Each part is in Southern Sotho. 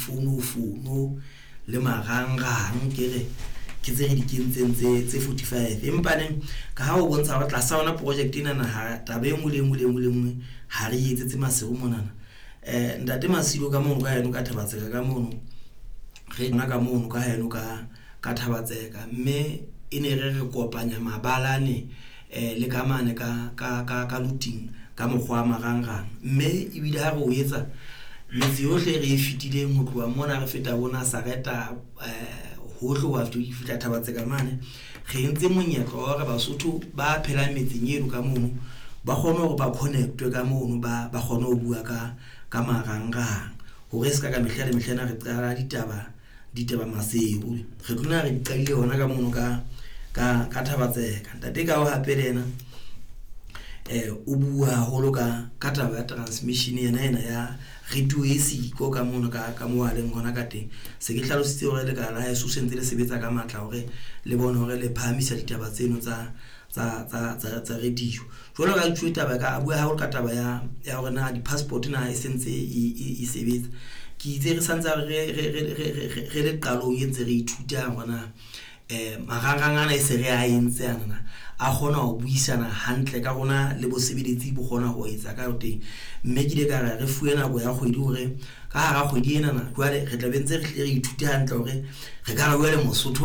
Difonofono le marangrang ke re ke tse re di kentseng tse 45. Empa neng ka ha o bontsha hore tlasa yona project ena na ha taba e nngwe le nngwe le nngwe le nngwe ha re etsetse Maseru monana. Ntate Masilo ka mono ka heno ka Thabatseka ka mono, re nna ka mono ka heno ka Thabatseka, mme e ne re re kopanya mabalane le ka mane ka Luting ka mokgwa wa marangrang. Mme ebile ha re o etsa metse yohle re e fetileng ho tloha mona re feta bo Nazareta, hohle wa fihla Thabatseka mane, re entse monyetla wa hore Basotho ba phelang metseng eno ka mono ba kgone hore ba connectwe ka mono, ba kgone ho bua ka marangrang, hore se ka mehla le mehla ena re qala ditaba Maseru. Re tlo re di qadile hona ka mono ka Thabatseka. Ntate ka o hape le yena o bua haholo ka taba ya transmission yena ya radio e siko ka mono ka mo a leng hona ka teng. Se ke hlalositse hore lekala la heso se ntse le sebetsa ka matla hore le bone hore le phahamisa ditaba tseno tsa radio. Jwalo ka tjho taba ka bua haholo ka taba ya hore na di-passport na e sentse e sebetsa. Ke itse re santse re le qalong e ntse re ithuta hore na marangrang ana e se re a entse ana a kgona ho buisana hantle ka rona le bosebeletsi bo kgona ho etsa ka teng. Mme ke ile ka re fuwe nako ya kgwedi hore ka hara kgwedi ena na jwale re tla be ntse re hlile re ithute hantle hore re ka re jwale Mosotho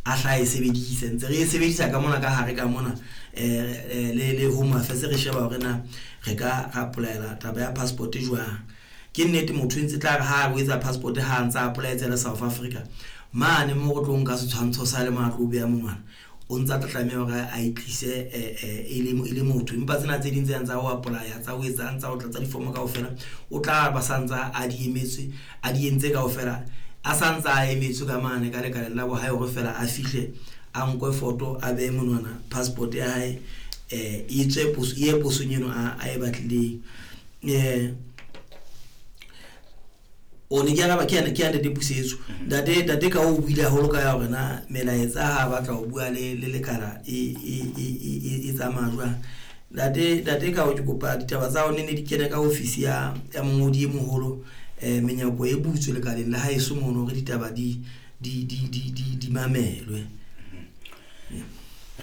a hla e sebedise, ntse re e sebedisa ka mona ka hare ka mona le Home Affairs re sheba hore na re ka ra applyela taba ya passport jwang. Ke nnete motho ntse tla re ha o etsa passport ha ntsa applyetse le South Africa mane mo go tlo nka setshwantsho sa le matlo o beya monwana, o ntsa tla tlameha hore a itlise e le motho. Empa tsena tse ding tse ntsa o apply tsa o etsa ntsa o tlatsa difomo kaofela, o tla ba santsa a di emetswe a di entse kaofela, a santsa a emetswe ka mane ka lekaleng la bohae hore fela a fihle a nkwe foto a behe monwana passport ya hae e tswe poso e posong eno a e batlileng. O ne ke araba ke ya ntate Pusetso. Ntate ka o buile haholo ka ya hore na melaetsa ha batla ho bua le lekala e tsamaya jwang. Ntate ka o ke kopa ditaba tsa hao ne di kene ka ofisi ya mongodi e moholo, menyako e butswe lekaleng la haeso mono hore ditaba di mamelwe.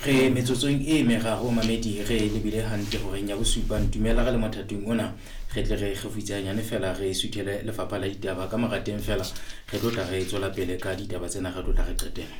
Re metsotsong e meraro mamedi re lebile hantle horeng ya bosupa. Ntumela re le mothatong ona re tle re kgefutse fela re suthele lefapha la ditaba ka morateng fela re tlo tla re tswela pele ka ditaba tsena re tlo tla re qetela.